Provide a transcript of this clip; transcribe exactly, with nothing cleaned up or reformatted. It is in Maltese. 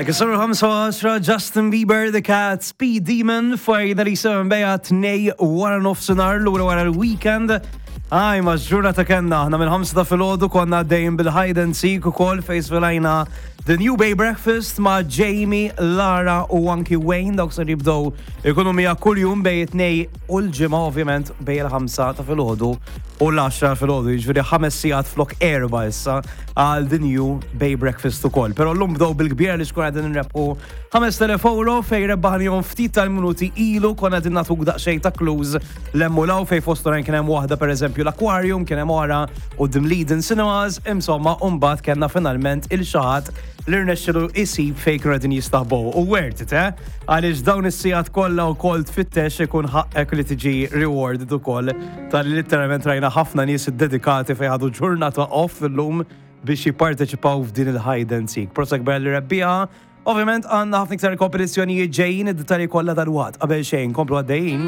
Kisru l-ħamsa Justin Bieber, The Cat, Speed Demon, Fajna li seven beja tnejn wara nofsinhar lura wara l-weekend. Aj, ma ġurnata kellna, aħna minn ħamsa ta' filgħodu konna dejjem bil-hide and seek u kollox fejn żvelajna The New Bay Breakfast ma' Jamie, Lara u anki Wayne, dawk ser jibdew ikunu mija kull-jum bejn it-Tnejn u l-Ġimgħa, ovvjament, bejn il-ħamsa ta' filgħodu u l-għaxra filgħodu, jiġifieri ħames sigħat flok erba' issa għal The New Bay Breakfast ukoll. Però llum bdew bil-kbir li xkun qegħdin nrebħu ħamest elef euro fejn rebbaħnihom ftit tal-minuti ilu. Konna qegħdin nagħtuk daqsxejn ta' clues l-emmulaw fejn fost oħrajn kien hemm waħda, pereżempju, l-Aquarium, kien hemm oħra quddiem l-Eden Cinemas, insomma, u mbagħad kellna finalment il-xaħat li rnexxilu isib fejn kienu qegħdin jistaħbow. U worth it, eh? Għaliex dawn is-sigħat kollha wkoll tfittex, ikun ħaqqek li tiġi rewarded ukoll tal literalment rajna ħafna nies dedikati fejn ħadu ġurnata off illum biex jipparteċipaw f'din il-hide and seek. Prosit kbir lir-rebbieħa. Ovvjament għandna ħafna iktar kompetizzjonijiet ġejjin, id-dettalji kollha dal-waqt. Qabel xejn, komplu għaddejjin.